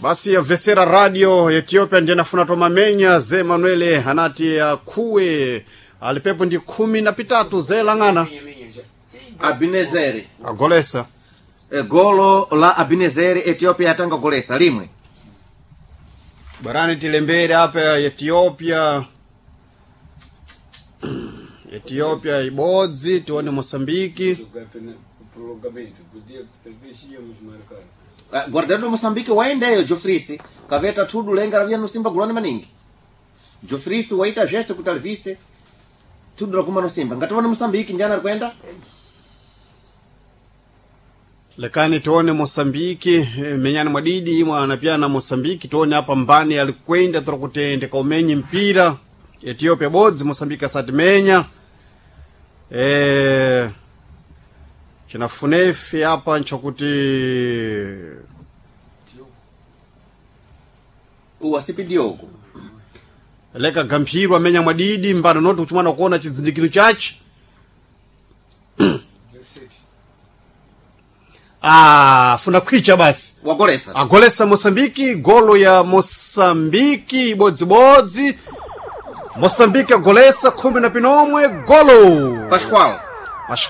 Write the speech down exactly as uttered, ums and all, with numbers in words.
Basi yavesera radio Ethiopia ndiye nafuna tomamenya ze Manuele anati akhuwe alipepo ndi khumi na pitatu zelang'ana Abinezeri agolesa. E, golo la Abinezeri, Ethiopia yatanga golesa limwe. Barani tilembere apa Ethiopia, Ethiopia ibodzi, tione Mosambiki. Jogar pena- prolongamento. Podia, talvez íamos marcar. Ah, guardando Moçambique waendeyo Jofrisi kaveta thudu lenga ravia no Simba guloni maningi. Jofrisi waita zvese kuti alivise thudu rakuma no Simba ngativona Moçambique njana arikwenda. Lekani tione Mosambiki, eh, menyani mwadidi imwe anapyana Mosambiki, tione apa mbani alikwenda tiri kaumenye mpira. Ethiopia bodzi, Mosambiki asati menya. e, chinafunefi apa nchakuti Uwa sipi Diogo. Leka gamphiro amenya mwadidi mbano noti kuchimwana kuona chidzindikiro chache. dezessete. Ah, funa khwicha basi. Wagolesa. Agolesa Moçambique, golo ya Moçambique ibodzibodzi. Moçambique agolesa khumi na pinomwe golo. Pascoal.